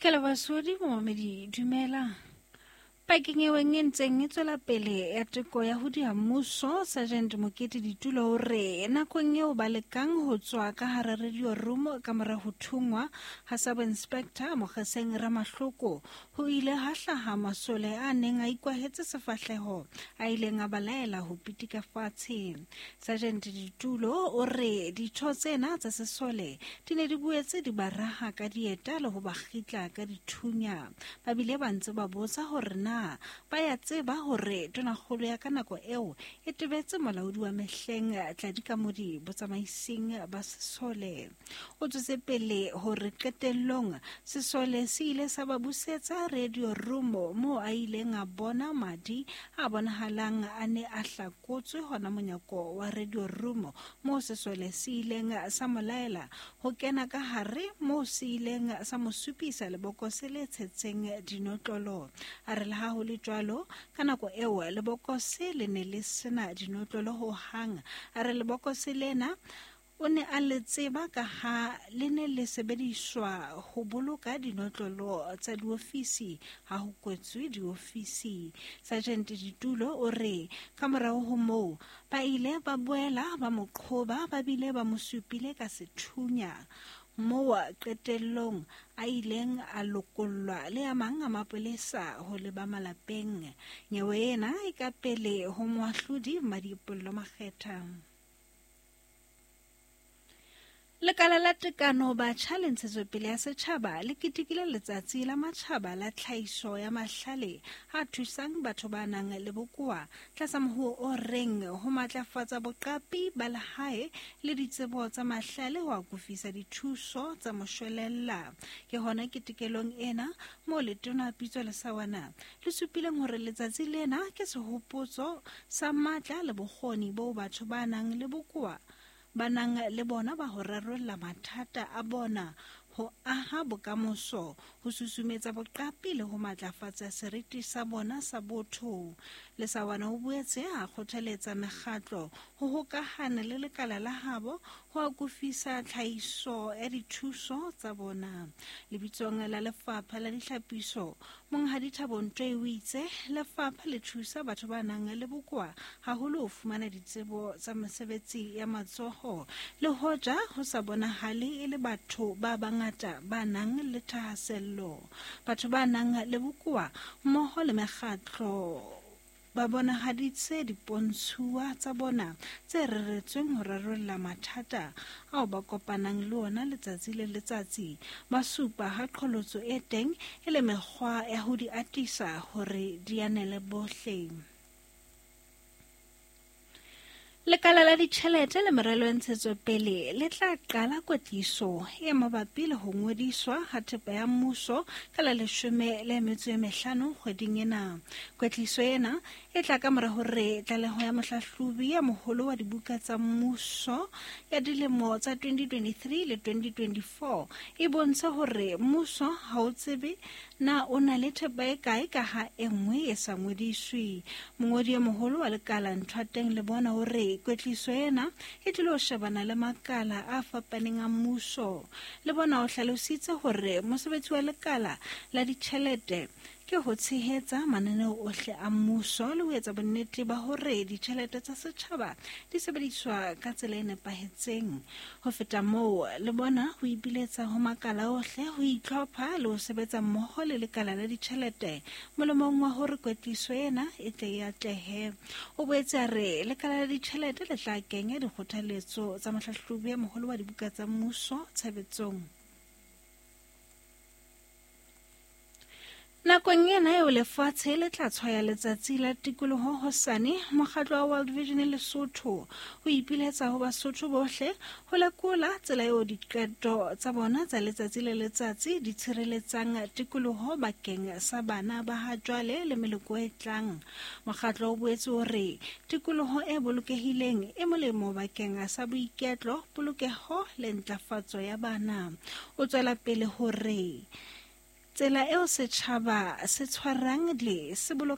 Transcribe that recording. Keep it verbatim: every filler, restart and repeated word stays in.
Ke leboha momamedi, dumela. Pakeng eo e ntseng e tswela pele ya teko ya ho diha mmuso, Sergeant Mokete Ditulo o re nakong eo ba lekang ho tswa ka hara radio room ka mora ho thungwa ha Sub-Inspector Mokgeseng Ramahloko, ho ile ha hlaha masole a neng a ikwahetse sefahleho a ileng a ba laela ho pitika fatshe. Sergeant Ditulo o re ditho tsena tsa sesole di ne di boetse di ba raha ka dieta le ho ba kgitla ka dithunya. Ba bile ba ntse ba botsa hore na ba ya tseba hore tonakgolo ya ka nako eo e tebetse molaodi wa mehleng Tladi Kamodi botsamaising ba sesole. O tswetse pele hore qetellong sesole se ile sa ba busetsa radio room moo a ileng a bona madi a bonahalang a ne a hlakotswe hona monyako wa radio room moo sesole se ileng sa mo laela ho kena ka hare moo se ileng sa mo supisa lebokose le tshetseng dinotlolo. A re le ha ho le jwalo, ka nako eo lebokose le ne le sena dinotlolo ho hang. A re lebokose lena o ne a le tseba ka ha le ne le sebediswa ho boloka dinotlolo tsa diofisi ha ho kwetswe diofisi. Sergeant Ditulo o re ka morao ho moo ba ile ba boela ba mo qhoba ba bile ba mo supile ka sethunya, moo qetellong a ileng a lokollwa le a mang a mapolesa ho leba malapeng. Nyewe ena e ka pele ho moahlodi Mmadipollo Makgetha. Lekala la Tekano Batjha le Ntshetsopele ya Setjhaba le ketekile letsatsi la matjhaba la tlhahiso ya mahlale a thusang batho ba nang le bokowa tlasa mohuo o reng ho matlafatsa boqapi ba lehae le ditsebo tsa mahlale ho akofisa dithuso tsa moshwelella. Ke hona ketekelong ena moo Letona Pitso Lesawana le supileng hore letsatsi lena ke sehopotso sa matla le bokgoni boo batho ba nang le bokowa ba nang le bona ba ho rarolla mathata a bona, ho aha bokamoso, ho susumetsa boqapi le ho matlafatsa seriti sa bona sa botho. Lesawana o boetse a kgothaletsa mekgatlo ho hokahana le lekala la habo ho akofisa tlhahiso ya dithuso tsa bona. Lebitsong la Lefapha la Ditlhapiso, Monghadi Thabo Ntoi o itse lefapha le thusa batho ba nang le bokowa haholo ho fumana ditsebo tsa mesebetsi ya matsoho, le hoja ho sa bonahale e le batho ba bangata ba nang le thahasello. Batho ba nang le bokowa mmoho le mekgatlo ba bonahaditse dipontshuwa tsa bona tse reretsweng ho rarolla mathata ao ba kopanang le ona letsatsi le letsatsi. Ba supa ha qholotso e teng e le mekgwa ya ho di atisa hore di anele bohle. Lekala la ditjhelete le meralo ya ntshetsopele le tla qala kwetliso e mabapi le ho ngodiswa ha thepa ya mmuso ka la leshome le metso e mehlano kgweding ena. Kwetliso ena e tla ka mora hore tlaleho ya mohlahlobi ya moholo wa dibuka tsa mmuso ya dilemo tsa twenty twenty-three le twenty twenty-four e bontshe hore mmuso ha o tsebe na o na le thepa e kae ka ha e nngwe e sa ngodiswe. Mongodi e moholo wa lekala Nthwateng le bona hore kwetliso ena e tlilo shebana le makala a fapaneng a mmuso. Le bona o hlalositse hore mosebetsi wa lekala la ditjhelete ke ho tshehetsa mananeo ohle a mmuso le ho etsa bonnete ba hore ditjhelete tsa setjhaba di sebediswa ka tsela e nepahetseng. Ho feta moo, le bona ho ipiletsa ho makala ohle ho itlhopha le ho sebetsa mmoho le lekala la ditjhelete molemong wa hore kwetliso ena e tle e atlehe. O boetse a re lekala la ditjhelete le tla kenya dikgothaletso tsa mohlahlobi ya moholo wa dibuka tsa mmuso tshebetsong. Nakong ena eo lefatshe le tla tshwaya letsatsi la tikoloho hosane, mokgatlo wa World Vision Lesotho o ipiletsa ho Basotho bohle ho lekola tsela eo diqeto tsa bona tsa letsatsi le letsatsi di tshireletsang tikoloho bakeng sa bana ba ha jwale le meloko e tlang. Mokgatlo o boetse o re tikoloho e bolokehileng e molemo bakeng sa boiketlo, polokeho le ntlafatso ya bana. O tswela pele hore tsela eo setjhaba se tshwarang le se boloka